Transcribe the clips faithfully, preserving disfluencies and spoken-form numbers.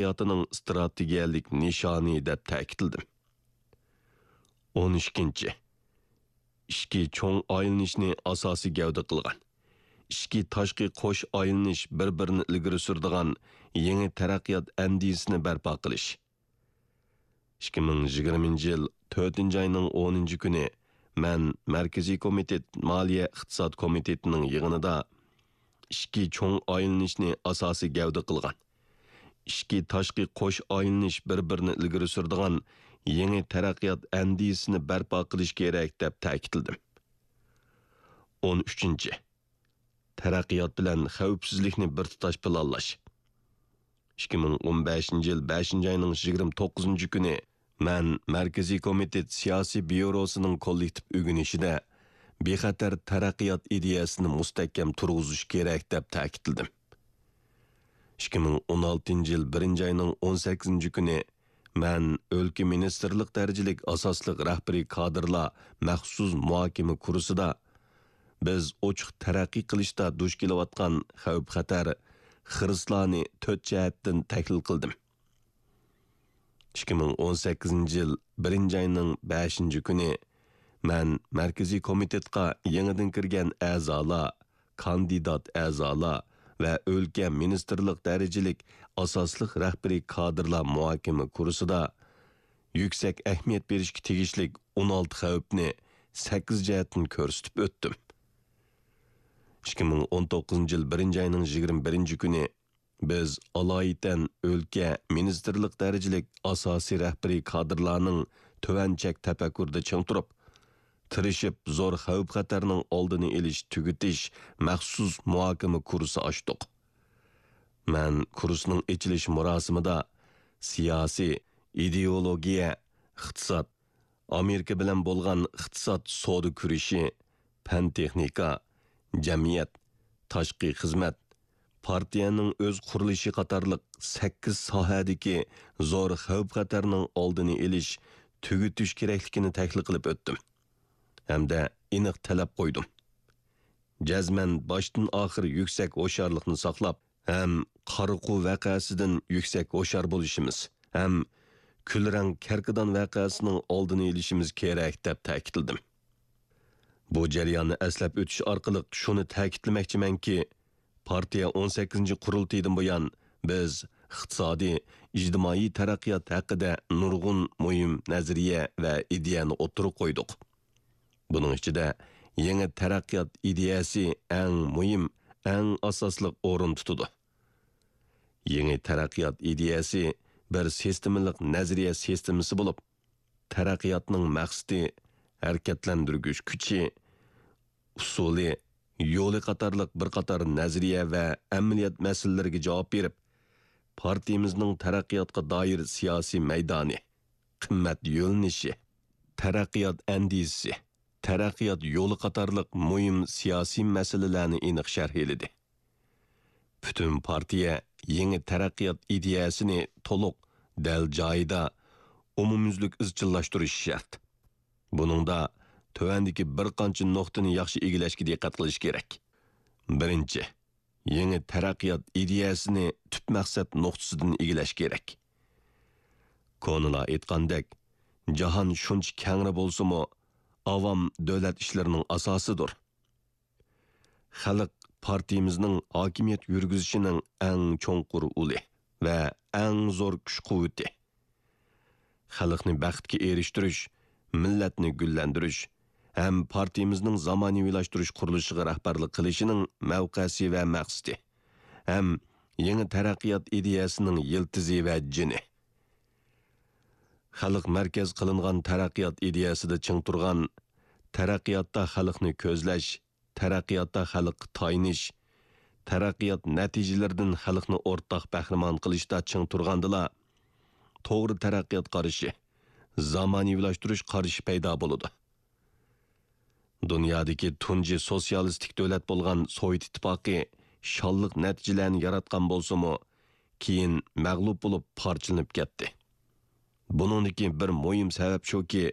تەرەققىياتىنىڭ ئىستراتېگىيەلىك نىشانى دەپ تەكىتلىدىم. ئون ئىككىنچى، ئىچكى چوڭ ئايلىنىشنى ئاساسىي گەۋدە قىلغان، ئىچكى تاشقى قوش ئايلىنىش بىر-بىرىنى ئىلگىرى سۈرىدىغان يېڭى تەرەققىيات ئەندىزىسىنى بەرپا قىلىش. ئىككى مىڭ يىگىرمىنچى يىل تۆتىنچى ئاينىڭ ئونىنچى كۈنى مەن مەركىزىي كومىتېت مالىيە ئىقتىساد كومىتېتىنىڭ يىغىنىدا ئىچكى چوڭ ئايلىنىشنى ئاساسىي گەۋدە قىلغان، ئىچكى تاشقى قوش ئايلىنىش بىر-بىرىنى ئىلگىرى سۈرىدىغان يېڭى تەرەققىيات ئەندىزىسىنى بەرپا قىلىش كېرەك، دەپ تەكىتلىدىم. ئون ئۈچىنچى، تەرەققىيات بىلەن خەۋپسىزلىكنى بىر تۇتاش پىلانلاش. ئىككى مىڭ ئون بەشىنچى يىل بەشىنچى ئاينىڭ يىگىرمە توققۇزىنچى كۈنى مەن مەركىزىي كومىتېت سىياسىي بيۇروسىنىڭ كوللېكتىپ ئۆگىنىشىدە بىخەتەر تەرەققىيات ئىدىيەسىنى مۇستەھكەم تۇرغۇزۇش كېرەك، دەپ تەكىتلىدىم. ئىككى مىڭ ئون ئالتىنچى يىل بىرىنچى ئاينىڭ ئون سەككىزىنچى كۈنى مەن ئۆلكە مىنىستىرلىق دەرىجىلىك ئاساسلىق رەھبىرىي كادىرلار مەخسۇس مۇھاكىمە كۇرسىدا بىز ئوچۇق تەرەققىي قىلىشتا دۇچ كېلىۋاتقان خەۋپ-خەتەر، خىرىسلارنى تۆت جەھەتتىن تەھلىل قىلدىم. ئىككى مىڭ ئون سەككىزىنچى يىل بىرىنچى ئاينىڭ بەشىنچى كۈنى مەن مەركىزىي كومىتېتقا يېڭىدىن كىرگەن ئەزالار، كاندىدات ئەزالار ۋە ئۆلكە مىنىستىرلىق دەرىجىلىك ئاساسلىق رەھبىرىي كادىرلار مۇھاكىمە كۇرسىدا يۈكسەك ئەھمىيەت بېرىشكە تېگىشلىك ئون ئالتە خەۋپنى سەككىز جەھەتتىن كۆرسىتىپ ئۆتتۈم. ئىككى مىڭ ئون توققۇزىنچى يىل بىرىنچى ئاينىڭ يىگىرمە بىرىنچى كۈنى بىز ئالايىتەن ئۆلكە، مىنىستىرلىق دەرىجىلىك ئاساسىي رەھبىرىي كادىرلارنىڭ تۆۋەن چەك تەپەككۇرىدا چىڭ تۇرۇپ، تىرىشىپ زور خەۋپ-خەتەرنىڭ ئالدىنى ئېلىش، تۈگىتىش مەخسۇس مۇھاكىمە كۇرسى ئاچتۇق. مەن كۇرسنىڭ ئېچىلىش مۇراسىمىدا سىياسىي، ئىدېئولوگىيە، ئىقتىساد، ئامېرىكا بىلەن بولغان ئىقتىساد سودا كۈرىشى، پەن-تېخنىكا، جەمئىيەت، تاشقى خىزمەت، پارتىيەنىڭ ئۆز قۇرۇلۇشى قاتارلىق سەككىز ساھەدىكى زور خەۋپ-خەتەرنىڭ ئالدىنى ئېلىش، تۈگىتىش كېرەكلىكىنى تەھلىل قىلىپ ئۆتتۈم ھەمدە ئېنىق تەلەپ قويدۇم. جەزمەن باشتىن-ئاخىر يۈكسەك ھوشيارلىقنى ساقلاپ، ھەم قارىقۇ ۋەقەسىدىن يۈكسەك ھوشيار بولۇشىمىز ھەم كۈلرەڭ كەركىدان ۋەقەسىنىڭ ئالدىنى ئېلىشىمىز كېرەك، دەپ تەكىتلىدىم. بۇ جەرياننى ئەسلەپ ئۆتۈش ئارقىلىق شۇنى تەكىتلىمەكچىمەنكى، پارتىيە ئون سەككىزىنچى قۇرۇلتىيىدىن بۇيان، بىز ئىقتىسادىي، ئىجتىمائىي تەرەققىيات ھەققىدە نۇرغۇن مۇھىم نەزەرىيە ۋە ئىدىيەنى ئوتتۇرىغا قويدۇق. بۇنىڭ ئىچىدە يېڭى تەرەققىيات ئىدىيەسى ئەڭ مۇھىم، ئەڭ ئاساسلىق ئورۇن تۇتىدۇ. يېڭى تەرەققىيات ئىدىيەسى بىر سىستېمىلىق نەزەرىيە سىستېمىسى بولۇپ، تەرەققىياتنىڭ مەقسىتى، ھەرىكەتلەندۈرگۈچ كۈچى، ئۇسۇلى، يولى قاتارلىق بىر قاتار نەزەرىيە ۋە ئەمەلىيەت مەسىلىلىرىگە جاۋاب بېرىپ، پارتىيىمىزنىڭ تەرەققىياتقا دائىر سىياسىي مەيدانى، قىممەت يۆنىلىشى، تەرەققىيات ئەندىزىسى، تەرەققىيات يولى قاتارلىق مۇھىم سىياسىي مەسىلىلەرنى ئېنىق شەرھلىدى. پۈتۈن پارتىيە يېڭى تەرەققىيات ئىدىيەسىنى تولۇق، دەل جايىدا، ئومۇميۈزلۈك ئىزچىللاشتۇرۇشى شەرت. بۇنىڭدا تۆۋەندىكى بىر قانچە نۇقتىنى ياخشى ئىگىلەشكە دىققەت قىلىش كېرەك. بىرىنچى، يېڭى تەرەققىيات ئىدىيەسىنى تۈپ مەقسەت نۇقتىسىدىن ئىگىلەش كېرەك. كونىلار ئېيتقاندەك، جاھان شۇنچە كەڭرى بولسىمۇ، ئاۋام دۆلەت ئىشلىرىنىڭ ئاساسىدۇر. خەلق پارتىيىمىزنىڭ ھاكىمىيەت يۈرگۈزۈشىنىڭ ئەڭ چوڭقۇر ئۇلى ۋە ئەڭ زور كۈچ-قۇۋۋىتى. خەلقنى بەختكە ئېرىشتۈرۈش، مىللەتنى گۈللەندۈرۈش ھەم پارتىيىمىزنىڭ زامانىۋىلاشتۇرۇش قۇرۇلۇشىغا رەھبەرلىك قىلىشىنىڭ مەۋقەسى ۋە مەقسىتى ھەم يېڭى تەرەققىيات ئىدىيەسىنىڭ يىلتىزى ۋە جېنى. خەلق مەركەز قىلىنغان تەرەققىيات ئىدىيەسىدە چىڭ تۇرغان، تەرەققىياتتا خەلقنى كۆزلەش، تەرەققىياتتا خەلققە تايىنىش، تەرەققىيات نەتىجىلىرىدىن خەلقنى ئورتاق بەھرىمەن قىلىشتا چىڭ تۇرغاندىلا، توغرا تەرەققىيات قارىشى، زامانىۋىلاشتۇرۇش قارىشى پەيدا بولىدۇ. دۇنيادىكى تۇنجى سوتسىيالىستىك دۆلەت بولغان سوۋېت ئىتتىپاقى شانلىق نەتىجىلەرنى ياراتقان بولسىمۇ، كېيىن مەغلۇپ بولۇپ پارچىلىنىپ كەتتى. بۇنىڭدىكى بىر مۇھىم سەۋەب شۇكى،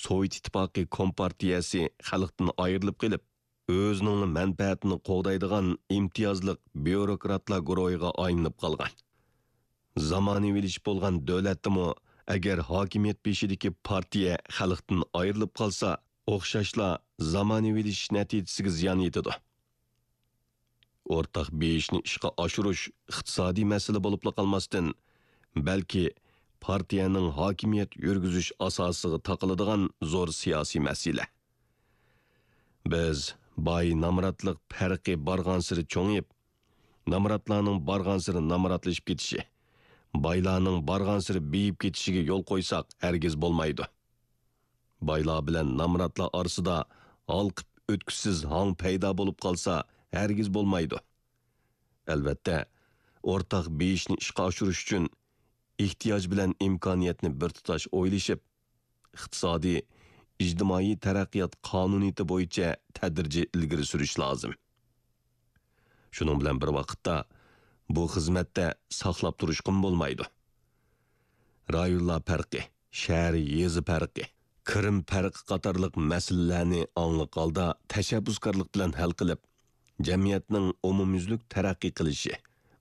سوۋېت ئىتتىپاقى كومپارتىيەسى خەلقتىن ئايرىلىپ قېلىپ، ئۆزىنىڭ مەنپەئەتىنى قوغدايدىغان ئىمتىيازلىق بيۇروكراتلار گۇرۇھىغا ئايلىنىپ قالغان. زامانىۋىلىشىپ بولغان دۆلەتتىمۇ، ئەگەر ھاكىمىيەت بېشىدىكى پارتىيە خەلقتىن ئايرىلىپ قالسا، ئوخشاشلا زامانىۋىلىشىش نەتىجىسىگە زىيان يېتىدۇ. ئورتاق بېيىشنى ئىشقا ئاشۇرۇش ئىقتىسادىي مەسىلە بولۇپلا قالماستىن، بەلكى پارتىيەنىڭ ھاكىمىيەت يۈرگۈزۈش ئاساسىغا تاقىلىدىغان زور سىياسىي مەسىلە. بىز باي نامراتلىق پەرقى بارغانسېرى چوڭىيىپ، نامراتلارنىڭ بارغانسېرى نامراتلىشىپ كېتىشى، بايلارنىڭ بارغانسېرى بېيىپ كېتىشىگە يول قويساق ھەرگىز بولمايدۇ. بايلار بىلەن نامراتلار ئارىسىدا ھالقىپ ئۆتكۈسىز ھاڭ پەيدا بولۇپ قالسا ھەرگىز بولمايدۇ. ئەلۋەتتە، ئورتاق بېيىشنى ئىشقا ئاشۇرۇش ئۈچۈن ئېھتىياج بىلەن ئىمكانىيەتنى بىر تۇتاش ئويلىشىپ، ئىقتىسادىي، ئىجتىمائىي تەرەققىيات قانۇنىيىتى بويىچە تەدرىجىي ئىلگىرى سۈرۈش لازىم. شۇنىڭ بىلەن بىر ۋاقىتتا، بۇ خىزمەتتە ساقلاپ تۇرۇشقىمۇ بولمايدۇ. رايونلار پەرقى، شەھەر، يېزا پەرقى، كىرىم پەرقى قاتارلىق مەسىلىلەرنى ئاڭلىق ھالدا تەشەببۇسكارلىق بىلەن ھەل قىلىپ، جەمئىيەتنىڭ ئومۇميۈزلۈك تەرەققىي قىلىشى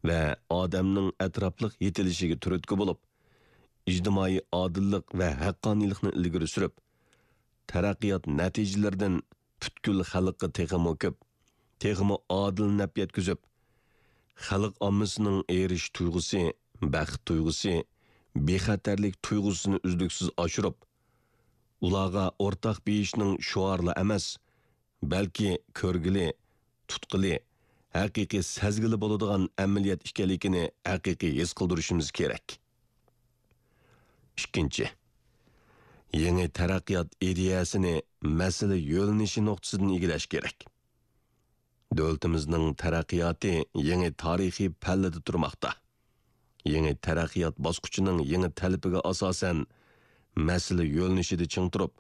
ۋە ئادەمنىڭ ئەتراپلىق يېتىلىشىگە تۈرتكە بولۇپ، ئىجتىمائىي ئادىللىق ۋە ھەققانىيلىقنى ئىلگىرى سۈرۈپ، تەرەققىيات نەتىجىلىرىدىن پۈتكۈل خەلققە تېخىمۇ كۆپ، تېخىمۇ ئادىل نەپ يەتكۈزۈپ، خەلق ئاممىسىنىڭ ئېرىشىش تۇيغۇسى، بەخت تۇيغۇسى، بىخەتەرلىك تۇيغۇسىنى ئۈزلۈكسىز ئاشۇرۇپ، ئۇلارغا ئورتاق بېيىشنىڭ شوئارلا ئەمەس، بەلكى كۆرگىلى، تۇتقىلى، ھەقىقىي سەزگىلى بولىدىغان ئەمەلىيەت ئىكەنلىكىنى ھەقىقىي ھېس قىلدۇرۇشىمىز كېرەك. ئىككىنچى، يېڭى تەرەققىيات ئىدىيەسىنى مەسىلە يۆنىلىشى نۇقتىسىدىن ئىگىلەش كېرەك. دۆلىتىمىزنىڭ تەرەققىياتى يېڭى تارىخىي پەللىدە تۇرماقتا. يېڭى تەرەققىيات باسقۇچىنىڭ يېڭى تەلىپىگە ئاساسەن، مەسىلە يۆنىلىشىدە چىڭ تۇرۇپ،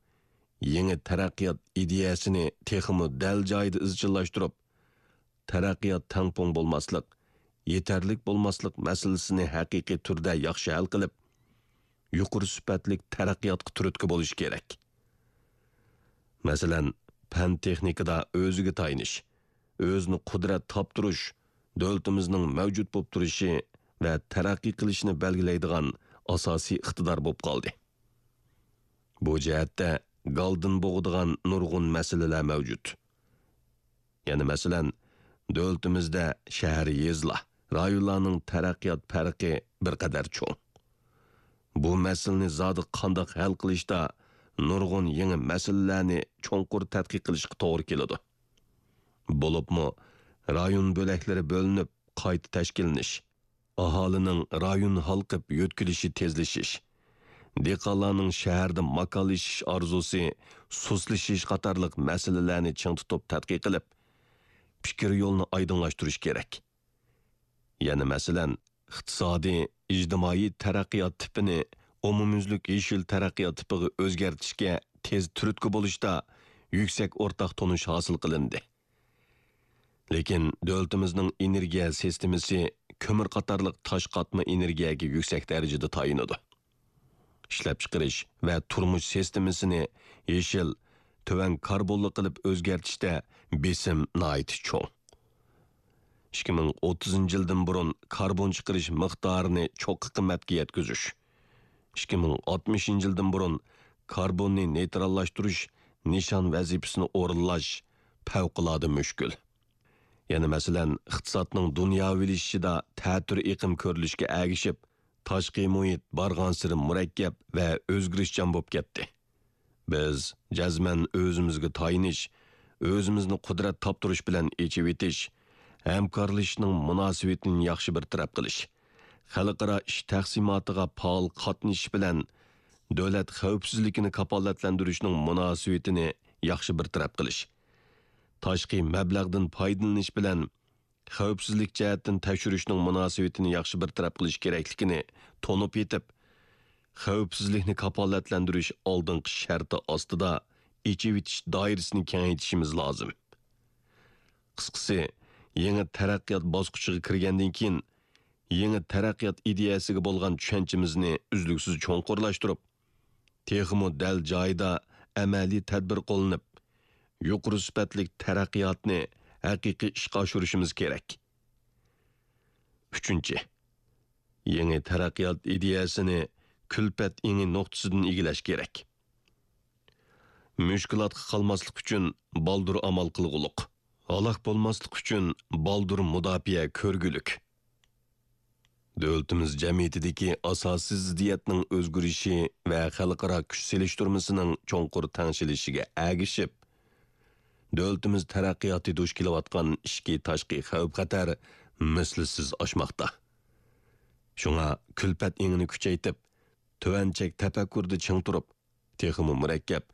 يېڭى تەرەققىيات ئىدىيەسىنى تېخىمۇ دەل جايىدا ئىزچىللاشتۇرۇپ، تەرەققىيات تەڭپۇڭ بولماسلىق، يېتەرلىك بولماسلىق مەسىلىسىنى ھەقىقىي تۈردە ياخشى ھەل قىلىپ، يۇقىرى سۈپەتلىك تەرەققىياتقا تۈرتكە بولۇش كېرەك. مەسىلەن، پەن-تېخنىكىدا ئۆزىگە تايىنىش، ئۆزىنى قۇدرەت تاپتۇرۇش دۆلىتىمىزنىڭ مەۋجۇت بولۇپ تۇرۇشى ۋە تەرەققىي قىلىشىنى بەلگىلەيدىغان ئاساسىي ئىقتىدار بولۇپ قالدى. بۇ جەھەتتە گالدىن بوغىدىغان نۇرغۇن مەسىلىلەر مەۋجۇت. يەنە مەسىلەن، دۆلىتىمىزدە شەھەر، يېزىلار، رايونلارنىڭ تەرەققىيات پەرقى بىر قەدەر چوڭ. بۇ مەسىلىنى زادى قانداق ھەل قىلىشتا نۇرغۇن يېڭى مەسىلىلەرنى چوڭقۇر تەتقىق قىلىشقا توغرا كېلىدۇ. بولۇپمۇ رايون بۆلەكلىرى بۆلۈنۈپ قايتا تەشكىللىنىش، ئاھالىنىڭ رايون ھالقىپ يۆتكىلىشى تېزلىشىش، دېھقانلارنىڭ شەھەردە ماكانلىشىش ئارزۇسى سۇسلىشىش قاتارلىق مەسىلىلەرنى چىڭ تۇتۇپ تەتقىق قىلىپ، پىكىر يولىنى ئايدىڭلاشتۇرۇش كېرەك. يەنە مەسىلەن، ئىقتىسادىي، ئىجتىمائىي تەرەققىيات تىپىنى ئومۇميۈزلۈك يېشىل تەرەققىيات تىپىغا ئۆزگەرتىشكە تېز تۈرتكە بولۇشتا يۈكسەك ئورتاق تونۇش ھاسىل قىلىندى. لېكىن دۆلىتىمىزنىڭ ئېنېرگىيە سىستېمىسى كۆمۈر قاتارلىق تاش قاتما ئېنېرگىيەگە يۈكسەك دەرىجىدە تايىنىدۇ. ئىشلەپچىقىرىش ۋە تۇرمۇش سىستېمىسىنى يېشىل، تۆۋەن كاربونلۇق قىلىپ ئۆزگەرتىشتە بېسىم ناھايىتى چوڭ. ئىككى مىڭ ئوتتۇزىنچى يىلدىن بۇرۇن كاربون چىقىرىش مىقدارىنى چوققا قىممەتكە يەتكۈزۈش، ئىككى مىڭ ئاتمىشىنچى يىلدىن بۇرۇن كاربوننى نېيتراللاشتۇرۇش نىشان ۋەزىپىسىنى ئورۇنلاش پەۋقۇلئاددە مۈشكۈل. يەنە مەسىلەن، ئىقتىسادنىڭ دۇنياۋىلىشىشىدا تەتۈر ئېقىم كۆرۈلۈشكە ئەگىشىپ، تاشقى مۇھىت بارغانسېرى مۇرەككەپ ۋە ئۆزگىرىشچان بولۇپ كەتتى. بىز جەزمەن ئۆزىمىزگە تايىنىش، ئۆزىمىزنى قۇدرەت تاپتۇرۇش بىلەن ئېچىۋېتىش، ھەمكارلىشىشنىڭ مۇناسىۋىتىنى ياخشى بىر تەرەپ قىلىش، خەلقئارا ئىش تەقسىماتىغا پائال قاتنىشىش بىلەن دۆلەت خەۋپسىزلىكىنى كاپالەتلەندۈرۈشنىڭ مۇناسىۋىتىنى ياخشى بىر تەرەپ قىلىش، تاشقى مەبلەغدىن پايدىلىنىش بىلەن خەۋپسىزلىك جەھەتتىن تەكشۈرۈشنىڭ مۇناسىۋىتىنى ياخشى بىر تەرەپ قىلىش كېرەكلىكىنى تونۇپ يېتىپ، خەۋپسىزلىكنى كاپالەتلەندۈرۈش ئالدىنقى شەرتى ئاستىدا ئېچىۋېتىش دائىرىسىنى كېڭەيتىشىمىز لازىم. قىسقىسى، يېڭى تەرەققىيات باسقۇچىغا كىرگەندىن كېيىن، يېڭى تەرەققىيات ئىدىيەسىگە بولغان چۈشەنچىمىزنى ئۈزلۈكسىز چوڭقۇرلاشتۇرۇپ، تېخىمۇ دەل جايىدا ئەمەلىي تەدبىر قوللىنىپ، يۇقىرى سۈپەتلىك تەرەققىياتنى ھەقىقىي ئىشقا ئاشۇرۇشىمىز كېرەك. ئۈچىنچى، يېڭى تەرەققىيات ئىدىيەسىنى كۈلپەت ئېڭى نۇقتىسىدىن ئىگىلەش كېرەك. مۈشكۈلاتقا قالماسلىق ئۈچۈن بالدۇر ئامال قىلغۇلۇق. ھالاك بولماسلىق ئۈچۈن بالدۇر مۇداپىئە كۆرگۈلۈك. دۆلىتىمىز جەمئىيىتىدىكى ئاساسىي زىددىيەتنىڭ ئۆزگىرىشى ۋە خەلقئارا كۈچ سېلىشتۇرمىسىنىڭ چوڭقۇر تەڭشىلىشىگە ئەگىشىپ، دۆلىتىمىز تەرەققىياتى دۇچ كېلىۋاتقان ئىچكى تاشقى خەۋپ-خەتەر مىسلىسىز ئاشماقتا. شۇڭا كۈلپەت ئېڭىنى كۈچەيتىپ، تۆۋەن چەك تەپەككۇردا چىڭ تۇرۇپ، تېخىمۇ مۇرەككەپ،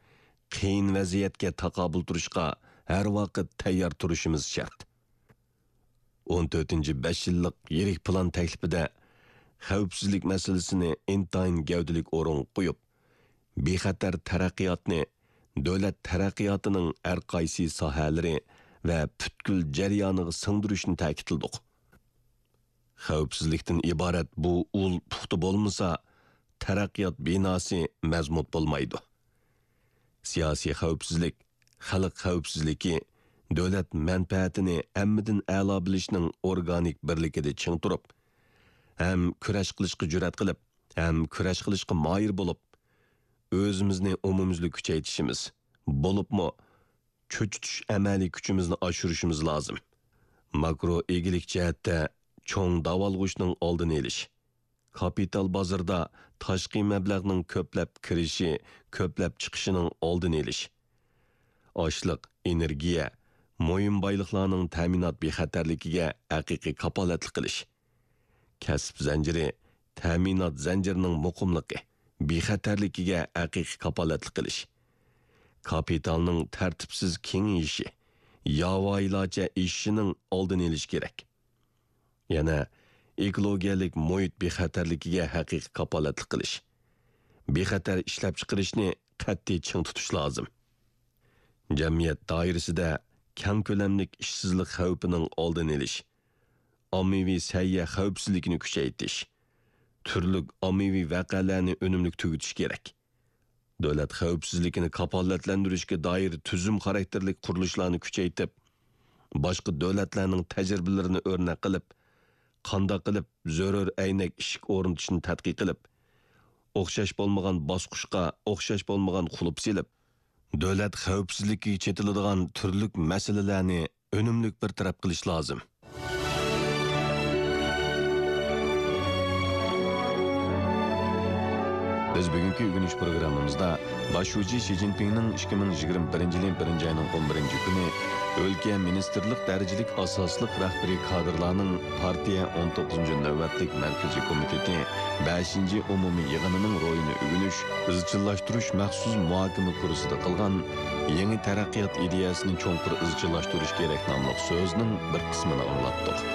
قىيىن ۋەزىيەتكە تاقابىل تۇرۇشقا ھەر ۋاقىت تەييار تۇرۇشىمىز شەرت. ئون تۆتىنچى بەش يىللىق يىرىك پىلان تەكلىپىدە خەۋپسىزلىك مەسىلىسىنى ئىنتايىن گەۋدىلىك ئورۇنغا قويۇپ، بىخەتەر تەرەققىياتنى دۆلەت تەرەققىياتىنىڭ ھەر قايسى ساھەلىرى ۋە پۈتكۈل جەريانىغا سىڭدۈرۈشنى تەكىتلىدۇق. خەۋپسىزلىكتىن ئىبارەت بۇ ئۇل پۇختا بولمىسا، تەرەققىيات بىناسى مەزمۇت بولمايدۇ. سىياسىي خەۋپسىزلىك، خەلق خەۋپسىزلىكى، دۆلەت مەنپەئەتىنى ھەممىدىن ئەلا بىلىشنىڭ ئورگانىك بىرلىكىدە چىڭ تۇرۇپ، ھەم كۈرەش قىلىشقا جۈرئەت قىلىپ، ھەم كۈرەش قىلىشقا ماھىر بولۇپ، ئۆزىمىزنى ئومۇميۈزلۈك كۈچەيتىشىمىز، بولۇپمۇ چۆچۈتۈش ئەمەلىي كۈچىمىزنى ئاشۇرۇشىمىز لازىم. ماكرو ئىگىلىك جەھەتتە چوڭ داۋالغۇشنىڭ ئالدىنى ئېلىش، كاپىتال بازىرىدا تاشقى مەبلەغنىڭ كۆپلەپ كىرىشى، كۆپلەپ چىقىشىنىڭ ئالدىنى ئېلىش، ئاشلىق، ئېنېرگىيە، مۇھىم بايلىقلارنىڭ تەمىنات بىخەتەرلىكىگە ھەقىقىي كاپالەتلىك قىلىش، كەسىپ زەنجىرى، تەمىنات زەنجىرىنىڭ مۇقىملىقى، بىخەتەرلىكىگە ھەقىقىي كاپالەتلىك قىلىش، كاپىتالنىڭ تەرتىپسىز كېڭىيىشى، ياۋايىلارچە ئېشىشىنىڭ ئالدىنى ئېلىش كېرەك. يەنە ئېكولوگىيەلىك مۇھىت بىخەتەرلىكىگە ھەقىقىي كاپالەتلىك قىلىش، بىخەتەر ئىشلەپچىقىرىشنى قەتئىي چىڭ تۇتۇش لازىم. جەمئىيەت دائىرىسىدە كەڭ كۆلەملىك ئىشسىزلىق خەۋپىنىڭ ئالدىنى ئېلىش، ئاممىۋى سەھىيە خەۋپسىزلىكىنى كۈچەيتىش، تۈرلۈك ئاممىۋى ۋەقەلەرنى ئۈنۈملۈك تۈگىتىش كېرەك. دۆلەت خەۋپسىزلىكىنى كاپالەتلەندۈرۈشكە دائىر تۈزۈم خاراكتېرلىك قۇرۇلۇشلارنى كۈچەيتىپ، باشقا دۆلەتلەرنىڭ تەجرىبىلىرىنى ئۆرنەك قىلىپ، قانداق قىلىپ زۆرۈر ئەينەك ئىشىك ئورنىتىشنى تەتقىق قىلىپ، ئوخشاش بولمىغان باسقۇچقا ئوخشاش بولمىغان قۇلۇپ سېلىپ، دۆلەت خەۋپسىزلىكىگە چېتىلىدىغان تۈرلۈك مەسىلىلەرنى ئۈنۈملۈك بىر تەرەپ قىلىش لازىم. بىز بۈگۈنكى ئۆگىنىش پروگراممىمىزدا باش شۇجى شى جىنپىڭنىڭ ئىككى مىڭ يىگىرمە بىرىنچى يىلى بىرىنچى ئاينىڭ ئون بىرىنچى كۈنى ئۆلكە مىنىستىرلىق دەرىجىلىك ئاساسلىق رەھبىرىي كادىرلارنىڭ پارتىيە ئون توققۇزىنچى نۆۋەتلىك مەركىزىي كومىتېتى بەشىنچى ئومۇمىي يىغىنىنىڭ روھىنى ئۆگىنىش، ئىزچىللاشتۇرۇش مەخسۇس مۇھاكىمە كۇرسىدا قىلغان يېڭى تەرەققىيات ئىدىيەسىنى چوڭقۇر ئىزچىللاشتۇرۇش كېرەك ناملىق سۆزنىڭ بىر قىسمىنى ئاڭلاتتۇق.